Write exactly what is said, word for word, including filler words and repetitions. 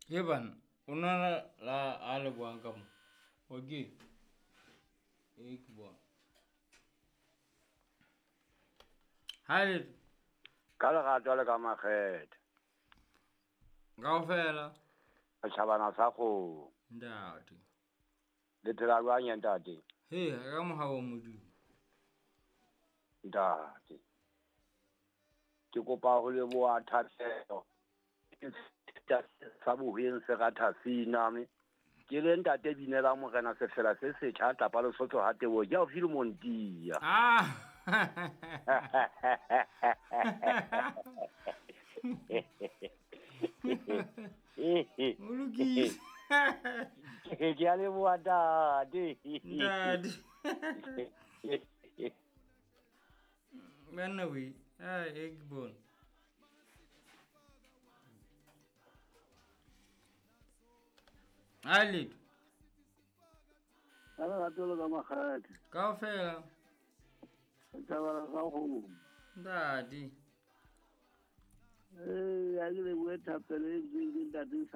He bana, o nana la a le buang ka mo. Okay. E ke bona. Ha le Ka lerato le ka makgethe. Kaofela. Setjhabana sa kgomo. Ntate. Le phela jwang ya ntate? He, ka mohau wa Modimo. Ntate. Ke kopa ho leboha thapelo. Sa bohweng se ratha sina me. Ke le ntate binela morena sefela se setjha tlapa Lesotho ha tebo ke o file Montia. Ah. O lokile. Ke a leboha ntate. Ntate. Banna we, ah e ke bona. Ali. Ka lerato le ka makgethe. Kaofela. Setjhabana sa kgomo. Ntate. Eh, a ke lebohe thapelo e entsweng ke ntate.